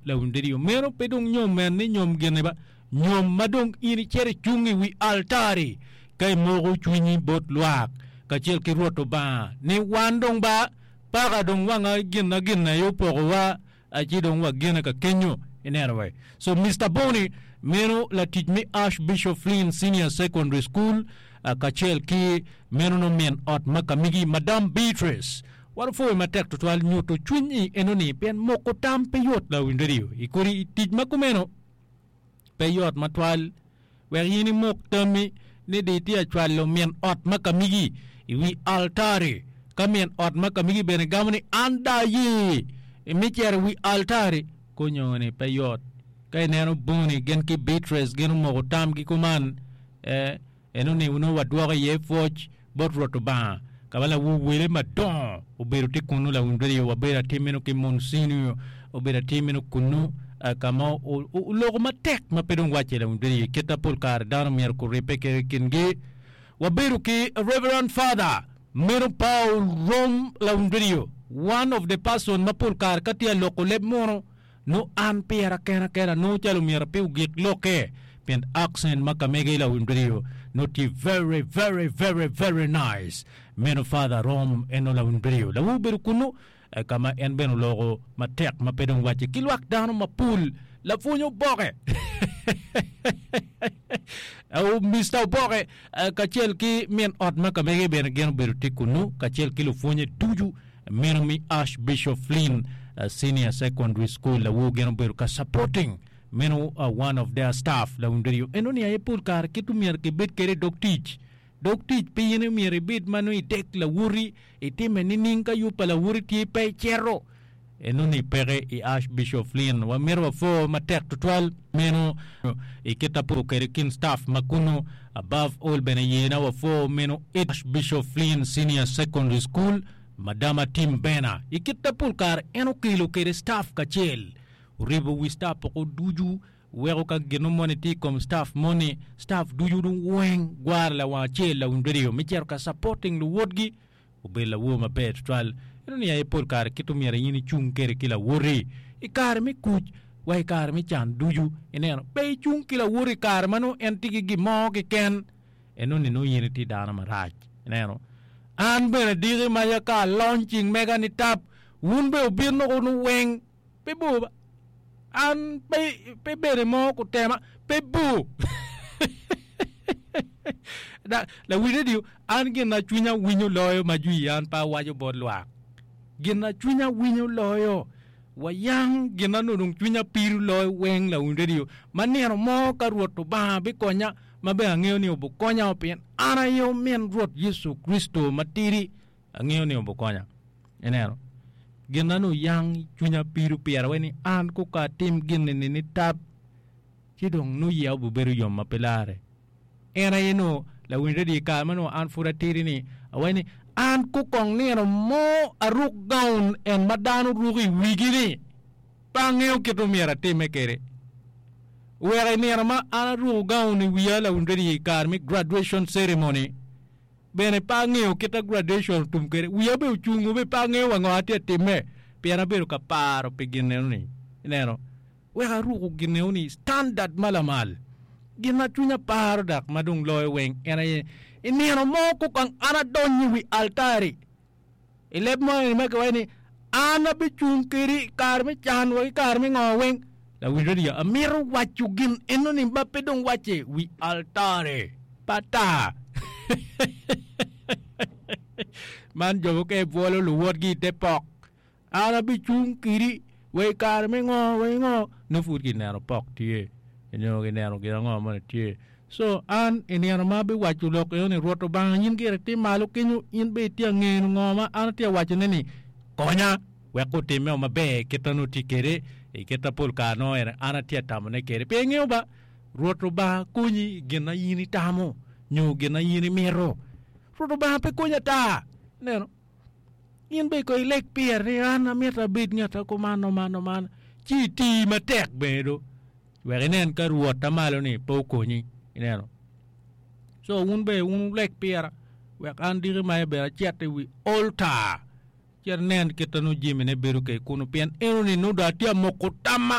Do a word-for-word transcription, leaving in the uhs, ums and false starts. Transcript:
Lawiny radio, meno pe dong nyom en ni nyom gine ba, nyom ma dong in icito icung i wi altari ka imoko cwinyi bot lwak kacel ki Rwot Lubanga ni wan dong ba paka dong wanga gin gin aye opokowa ci dong wagine ka kenyo ineno we. So Mister Boni meno latic me Archbishop Flynn Senior Secondary School kacel ki meno no min ot ma kamigi Madam Beatrice. Wan opwoyo matek tutwal nyuto cwiny i enoni pien moko tam pe yot lawiny radio i kodi i tic ma kumeno pe yot matwal wek in imok tammi ni di itye acwalo min ot ma kamigi i wi altari ka min ot ma kamigi bene gamo ni an da aye imi cito i wi altari konyoni pe yot ka ineno Boni gin ki Beatrice gin omoko tamgi kuman eh, enoni onongo wadwoko iye pwoc bot Rwot Lubanga ka ma lawor wele madongo obedo tye kunnu lawiny radio wabedo atir meno ki Monsignor obedo atir meno kunnu ka ma oloko matek ma pe dong wacce lawiny radio kit ma pol kare dano myero guribbe ki kingi wabedo ki Reverend Father meno Paul Rom lawiny radio one of the person ma pol kare ka tye aloko leb munu nongo an pira kena kena nongo calo myero pe ogik lokke pien accent ma ka mege lawiny radio nongo tye very very very very nice meno Father Rom eno lawiny radio lawu obedo kunnu ka ma en bene oloko matek ma pe dong wacce ki lwak dano mapol lapwony oboke Mister Oboke kacel ki min ot ma ka mege bene gin obedo tye kunnu kacel ki lupwonye ducu meno mi Archbishop Flynn Senior Secondary School lawu gin obedo ka supporting meno one of their staff lawiny radio eno ni aye pol kare kit myero kibed kwede i dog tic dog tic pe in myero ibed ma nongo idek lawoti itime nining ka yub pa lawoti tye pe icito eno ni peke i Archbishop Flynn wamito wapwo matek tutwal meno i kit apo kwede kin staff ma kunu above all bene yena wapwo meno Archbishop Flynn Senior Secondary School Madama Tim Bena i kit pol kare en okelo kwede staff kacel oribo wi staff oko ducu weko ka gino moni tye i kom staff moni staff ducu dong weng gwaro lawang acel lawiny radio me cito ka supporting luwotgi obedo lawor maber tutwal eno ni aye pol kare kit omyero in icung kwede ki lawoti i kare me kuc wa i kare me can ducu ineno pe icung ki lawoti i kare ma nongo en tye ki gin mo keken eno ni nongo in itye dano marac ineno an bene diki maca ka alony cing mega ni tap wun bene wubino kunu weng pe bor ba an pe pe bene mo kutema pe bor lawiny radio an gin na cwinya winyo loyo ma jwi an pe awaco bot lwak gin na cwinya winyo loyo wayang gin na nongo dong cwinya pido loyo weng lawiny radio ma nino mo ka Rwot Lubanga bikonya ma bene angeyo ni obukonya pien an aye omin Rwot Yecu Kricito matidi angeyo ni obukonya ineno gin na nongo yang cwinya pido pira wai ni an koka atim gin eni ni tap ci dong nongo iya obibedo yom ma pe lare en aye nongo lawiny radio i kare ma nongo an pud atidi ni awaco ni an kokong nino mo aruk gaun en ma dano ruko i wigi ni pe angeyo kit ma myero atime kwede wek i nino ma an aruko gaun i wiya lawiny radio i kare me graduation ceremony bene pe angeyo kit ma graduation otum kwede wiya bene ocungo bene pe angeyo wa ngo atye atime pien abedo ka paro pi gin eno-ni ineno wek aruko gin eno-ni standard ma lamal gin ma cwinya paro dok ma dong loyo weng en aye i nino mo kokong an adonyo i wi altari i leb mo eni ma kiwaco ni an abicung kedi i kare me can wa ki kare me ngo weng lawiny radio amito waco gin eno-ni ma pe dong wacce wi altari pe ata man jo mukene bwolo luwotgi i te pok an abicung kedi wa i kare me ngo wa i ngo nongo pud kineno pok tye nyo kineno gin ango moni tye so an i nino ma abiwaco lok eno ni Rwot Lubanga in gire iti malo kenyo in bene itye angeno ngo ma an atye awacone ni konya wek otimmeo maber kit ma nongo tye kwede i kit ma pol kare nongo ene an atye atamone kwede pe ingeyo ba Rwot Lubanga konyi i gin ma in itamo nyo gin ma in imito Rwot Lubanga pe konyi ata ineno in bene kong ileg pire ni an amito abed ngat ma kuman man man ci iti matek bene do wek inen ka Rwot malo-ni pe okonyi ineno co wun bene wun wuleg pira wek an diki maca bene acit i wi altar ci anen kit ma nongo jamine bedo kwede kunu pien enoni nongo dong atye ka moko tamma.